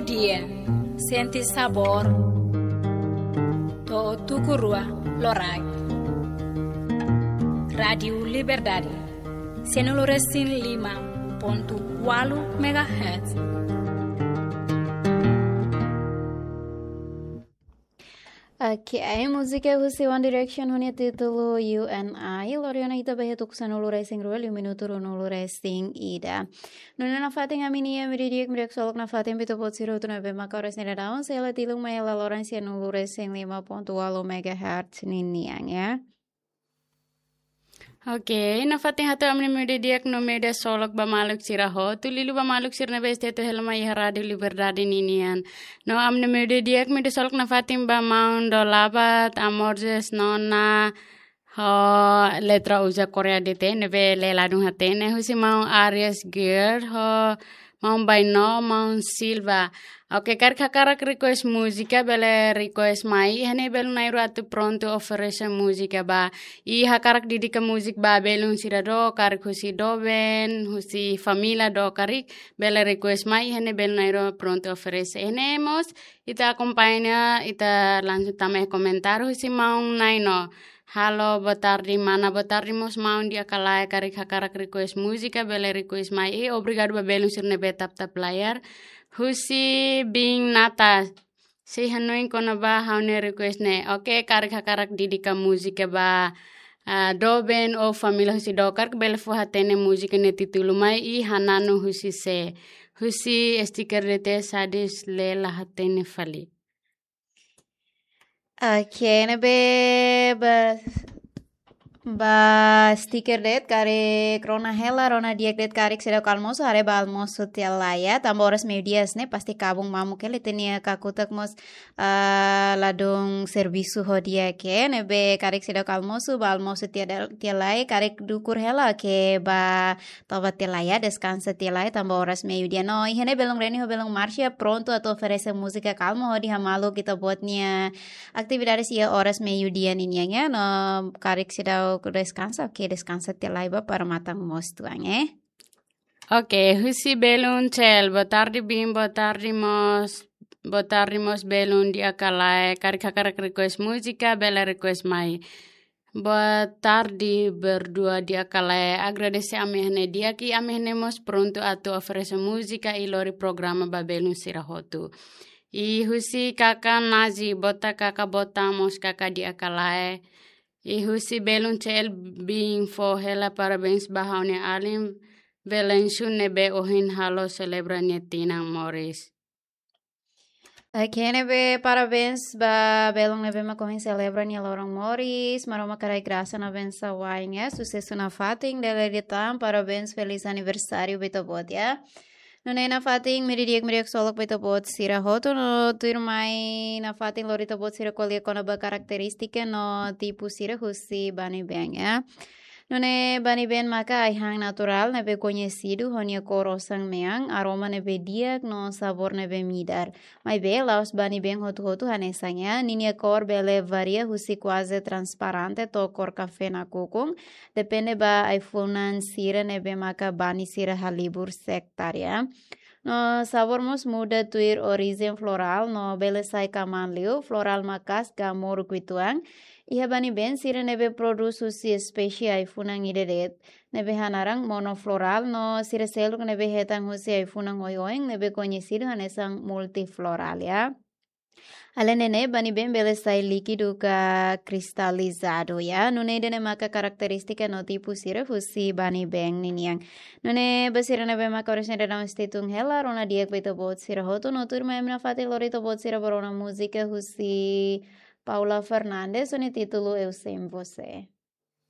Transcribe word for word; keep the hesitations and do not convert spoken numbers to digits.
Dia, sente sabór, to'o tuku rua loraik. Rádiu Liberdade, sianulu resin lima pontu ualu megahertz. Oke, ai múzika husi One Direction ho nia títulu You and I, lori ona ita ba iha tuku sanulu resin rua, liu minutu ruanulu resin ida. Nune'e nafatin ami-nia mídia di'ak, mídia ksolok nafatin ba ita-boot sira hotu ne'ebé maka oras ne'e daudaun sei hela tilun mai hela loron sianulu resin lima pontu ualu megahertz ninian, ya. Oke, nafatin hato'o ami-nia mídia di'ak no mídia ksolok ba maluk sira hotu, liuliu ba maluk sira ne'ebé sei hetan hela mai iha Rádiu Liberdade ninian. No ami-nia mídia di'ak, mídia ksolok nafatin ba maun Dolabat, Amorjes, Nona, ho Letra Uza Korea D T, ne'ebé lee ladún hatene, husi maun Arias Gear, ho maun Baino, maun Silva. Oke, karik hakarak request múzika, bele request mai, iha ne'e belun na'in-rua atu prontu oferese múzika ba. I hakarak dedika múzika ba belun sira do, karik husi doben, husi família do, karik bele request mai, iha ne'e belun na'in-rua prontu oferese. Iha ne'e mós, ita akompaña, ita langsung tama iha komentáriu husi maun Naino. Halo, boa tarde, mana, boa tarde, mós maun di'ak ka lae, karik hakarak request múzika, bele request mai. I obrigadu ba belun sira ne'ebé tap-tap layar. Husi biin Nata, sei hanoin kona-ba ha'u-nia request ne'e. Oke, karik hakarak dedika múzika ba, ah, doben ou família husi do, karik bele fó hatene múzika nia títulu mai i hananu husi sé. Husi stiker D T, Sadis, lee la hatene fali. Oke, ne'ebé ba, ba stiker de'it karik rona hela, rona di'ak de'it karik seidauk almosu, haree ba almosu tiha lai ya, tanba oras meiudia hanesan ne'e pasti kabun mamuk hela, ita-nia kakutak mós, ah, ladún servisu ho di'ak, ne'ebé karik seidauk almosu, ba almosu tiha del-, tiha lai, karik dukur hela ke ba toba tiha lai ya, deskansa tiha lai, tanba oras meiudia. No, iha ne'e belun Reni ho belun Marcia prontu atu oferese múzika kalma hodi hamaluk ita-boot nia atividades iha oras meiudia ninian ya. No, karik seidauk deskansa, oke, deskansa tiha lai ba para matan mós tuan, eh. Oke, husi belun Cel, boa tarde biin, boa tarde mós, boa tarde mós belun di'ak ka lae, karik hakarak request múzika, bele request mai. Boa tarde, berdua di'ak ka lae. Agradese ami iha ne'e di'ak i ami iha ne'e mós prontu atu oferese múzika i lori programa ba belun sira hotu. I husi kaka Nazi, bota kaka bota mós kaka di'ak ka lae. I husi belun Cel biin fó hela parabéns ba ha'u-nia alin Velensu ne'ebé ohin halo selebra nia tinan moris. Oke, ne'ebé parabéns ba belun ne'ebé mak ohin selebra nia loron moris. Maromak haraik grasa no bensaun wa'in ya. Susesu nafatin, dala ida tan, parabéns, feliz aniversáriu ba ita-boot ya. Nune'e nafatin, mídia di'ak, mídia ksolok ba ita-boot sira hotu no tuirmai nafatin lori ita-boot sira ko'alia kona-ba karakterístika no tipu sira husi bani been ya. Nune'e bani been maka ai-han naturál ne'ebé koñesidu ho nia kór osan-mean, aroma ne'ebé di'ak no sabór ne'ebé midar. Maibé, la'ós bani been hotu-hotu hanesan ya, ninia kór bele varia husi kuaze transparente to'o kór kafé nakukun, depende ba ai-funan sira ne'ebé maka bani sira halibur sektar ya. No sabór mós muda tuir orijen florál, no bele sai kamaan liu, florál maka'as ka moruk uitoan. Iha bani been sira ne'ebé prodús husi espésie ai-funan ida de'it, ne'ebé hanaran monoflorál, no sira seluk ne'ebé hetan husi ai-funan oioin, ne'ebé koñesidu hanesan multiflorál ya. Alende ne'e, bani been bele sai líkidu ka kristalizadu ya. Nune'e ida-ne'e maka karakterístika no tipu sira husi bani been ninian. Nune'e ba sira ne'ebé maka oras ne'e daudaun sei tun hela, rona di'ak ba ita-boot sira hotu no tuirmai ami nafatin lori ita-boot sira ba rona múzika husi Paula Fernandes, ho nia títulu Eu Sem Você.